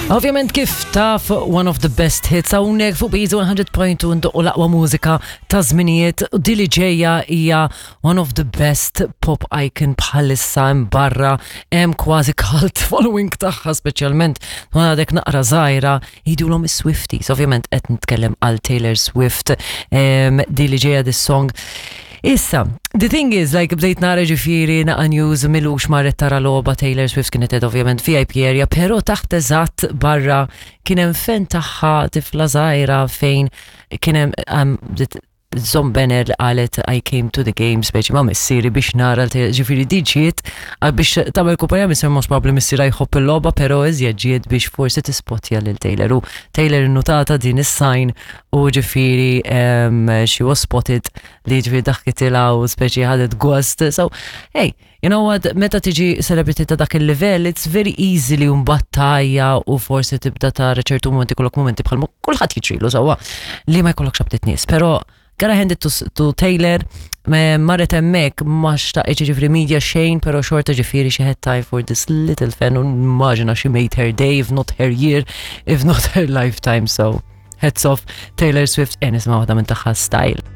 Ovvjament kif taf one of the best hits hawnhekk fuq Beats 100.2 ndoqqu l-aqwa mużika ta' żminijiet u dili ġejja hija one of the best pop icon bħalissa hemm barra hemm kważi cult following tagħha speċjalment għadek naqra żgħira jgħidulhom is-Swifties. Ovvjament qed nitkellem għal Taylor Swift dili ġejja this song. Issa, the thing is, like, bdejt nara ġifieri naqa news milux marret tara logħba Taylor Swift kienet qed ovvjament VIP area, pero taħt eżatt barra kien hemm fan tagħha tifla żgħira fejn kien hemm bdiet żomm banner li qalet "I came to the game" speċi ma' missieri biex nara ġifieri di ġiet biex tagħmel kumpanija missier, most probably missiera jħobb il-logħba, pero iżjed ġiet biex forsi tispotja lil Taylor u Taylor innutata din is-sign u ġifieri she was spotted li ġifieri daħkitilha u speċi ħadet gost. So, hey, you know what, meta tiġi celebrity ta' dak il-level, it's very easy li battajja u forsi tibda tara ċertu momenti, kollok momenti bħal kulħadd jiġrilu sewwa li ma jkollokx aptit nies. Pero gotta hand it to Taylor, marret hemmhekk ma xtaqitx ġifieri media xejn, pero xorta ġifieri she had time for this little fan u immaġina she made her day, if not her year, if not her lifetime. So, hats off Taylor Swift, e nisma' waħda minn tagħha, Style.